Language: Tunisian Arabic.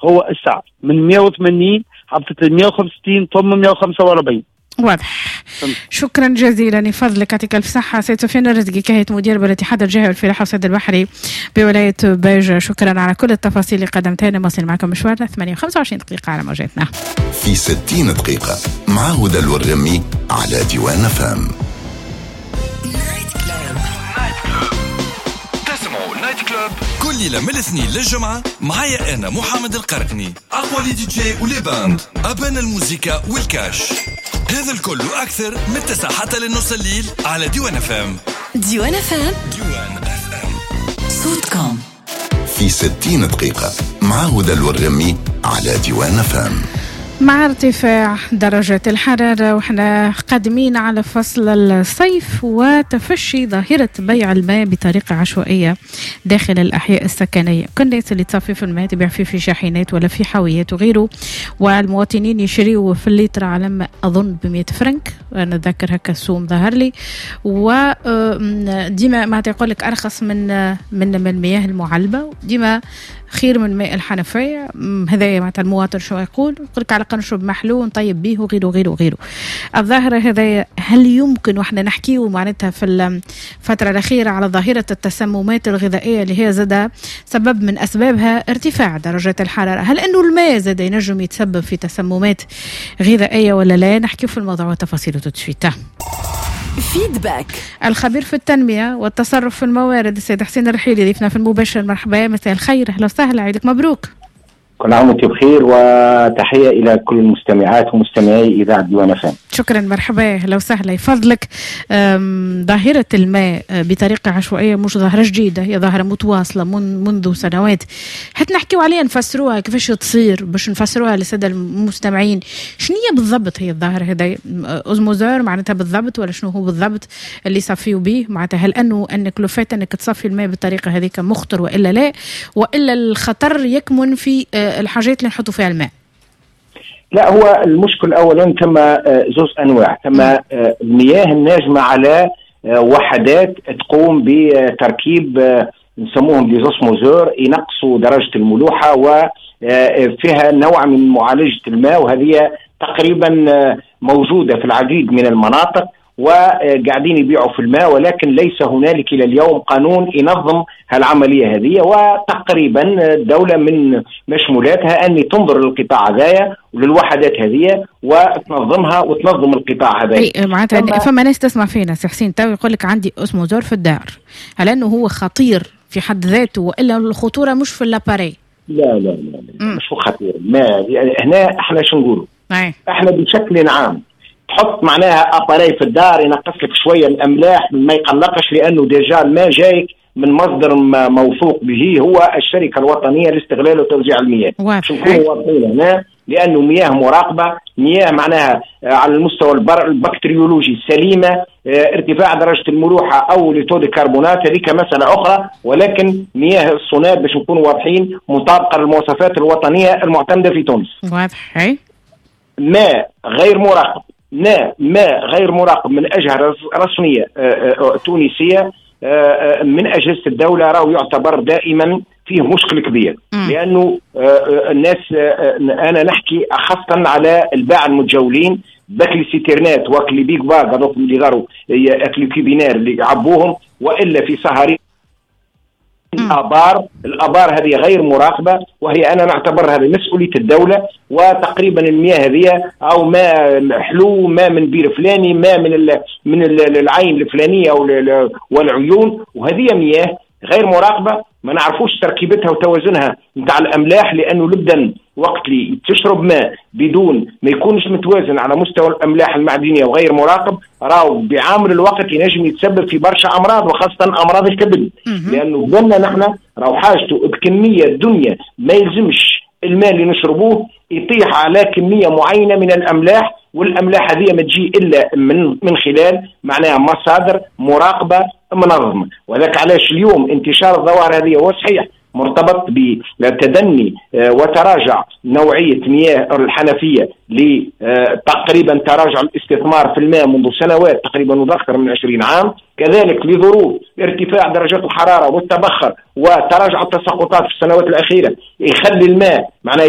هو السعر من 180 هبطت ل 165 ثم 145. واضح. شكرا جزيلا لفضلك، يعطيك الف صحة سيد سفيان الرزقي، كاهية مدير بالاتحاد الجهوي للفلاحه والصيد البحري بولاية باجة. شكرا على كل التفاصيل اللي قدمتها لنا. مواصلين معكم مشوارنا 8:25 دقيقة على موجاتنا. في 60 دقيقة مع هدى الورغمي على ديوان أف أم. تسمعوا Night Club كل ليلة من الاثنين للجمعة، معايا أنا محمد القرقني، أقوى les DJ و les bandes، أبان الموزيكا والكاش، هذا الكل وأكثر من 9 حتى للنص الليل على ديوان أف أم. ديوان أف أم. ديوان أف أم. صوتكم. في 60 دقيقة مع هدى الورغمي على ديوان أف أم. مع ارتفاع درجات الحرارة وحنا قادمين على فصل الصيف وتفشي ظاهرة بيع الماء بطريقة عشوائية داخل الأحياء السكنية، كل الناس اللي تصفي في الماء تبيع فيه في شاحنات ولا في حاويات وغيره، والمواطنين يشريوا في الليتر على ما أظن ب100 فرنك، أنا أتذكر هكا السوم ظهر لي، وديما ما يقول لك أرخص من المياه المعلبة، ديما خير من ماء الحنفية. هذايا معناتها المواطن شو يقول؟ يقول لك على الأقل نشرب محلول نطيب به وغيره وغيره وغيره. الظاهرة هذايا هل يمكن، واحنا نحكيه معناتها في الفترة الأخيرة على ظاهرة التسممات الغذائية اللي هي زاد سبب من أسبابها ارتفاع درجات الحرارة، هل أنه الماء زاد ينجم يتسبب في تسممات غذائية ولا لا؟ نحكي في الموضوع وتفاصيله tout de suite. feedback. الخبير في التنمية والتصرف في الموارد السيد حسين الرحيلي ضيفنا في المباشر. مرحبا، مساء الخير، أهلا وسهلا، عيدك مبروك. كل عام وانتم بخير، وتحية الى كل المستمعات ومستمعي اذاعة ديوان أف أم. شكرا، مرحبا، اهلا وسهلا، يفضلك. ظاهرة الماء بطريقة عشوائية مش ظاهرة جديدة، هي ظاهرة متواصلة منذ سنوات. حتى نحكيو عليها، نفسروها كيفاش تصير باش نفسروها للسادة المستمعين. شنو هي بالضبط هي الظاهرة هذا؟ osmoseur معناتها بالضبط ولا شنو هو بالضبط اللي يصفيوا به؟ معناتها هل انك le fait انك تصفي الماء بالطريقة هذيك مخطر والا لا؟ والا الخطر يكمن في الحاجات اللي نحطوا فيها الماء؟ لا، هو المشكل اولا ثم زوز انواع، ثم المياه الناجمة على وحدات تقوم بتركيب نسموهم des osmoseurs، ينقصوا درجه الملوحه وفيها نوع من معالجة الماء، وهذه تقريبا موجودة في العديد من المناطق وقاعدين يبيعوا في الماء، ولكن ليس هنالك الى اليوم قانون ينظم هالعمليه هذه. وتقريبا الدولة من مشمولاتها ان تنظر للقطاع هذايا وللوحدات هذه وتنظمها وتنظم القطاع هذا. اي معناتها فما ناس تسمع فينا سي حسين تو يقول لك عندي osmoseur في الدار، هل انه هو خطير في حد ذاته والا الخطورة مش في l'appareil؟ لا لا لا، لا، مش هو خطير. ما هنا احنا شو نقولوا؟ احنا بشكل عام تحط معناها appareil في الدار ينقص لك شوية الاملاح ما يقلقش، لانه déjà الماء جايك من مصدر موثوق به هو الشركة الوطنية لاستغلال وتوزيع المياه. نكونوا واضحين هنا، لانه مياه مراقبه، مياه معناها على المستوى البكتيريولوجي سليمه. ارتفاع درجه الملوحه او le taux de carbonate هذيك مسالة اخرى، ولكن مياه الصوناد باش نكونوا واضحين مطابقه للمواصفات الوطنية المعتمدة في تونس. ماء غير مراقب، ماء غير مراقب من اجهزة رسمية تونسيه، من اجهزة الدوله، راهو يعتبر دائما فيه مشكل كبير. لانه الناس، انا نحكي خاصة على الباعة المتجولين باك les citernes ات واك les big bacs هذوك اللي غاروا اك les cubinaires اللي يعبوهم، والا في سهري الابار. الابار هذه غير مراقبه، وهي انا نعتبرها هذه مسؤولية الدوله. وتقريبا المياه هذه او ماء حلو، ماء من بير فلاني، ماء من العين الفلانية او والعيون، وهذه مياه غير مراقبه، ما نعرفوش تركيبتها وتوازنها نتاع الاملاح، لانه البدن وقت اللي تشرب ماء بدون ما يكونش متوازن على مستوى الاملاح المعدنية وغير مراقب، راهو بعامل الوقت ينجم يتسبب في برشا امراض وخاصة امراض الكبد، لانه بدنا نحن راهو حاجته بكمية الدنيا، ما يلزمش الماء اللي نشربوه يطيح على كمية معينة من الاملاح، والاملاح هذه ما تجي الا من خلال معناها مصادر مراقبة منظمه. وذاك علاش اليوم انتشار الظواهر هذه هو صحيح مرتبط بتدني وتراجع نوعية مياه الحنفية، لتقريبا تراجع الاستثمار في الماء منذ سنوات تقريبا منذ أكثر من 20 عام، كذلك لظروف ارتفاع درجات الحرارة والتبخر وتراجع التساقطات في السنوات الأخيرة يخلي الماء معناه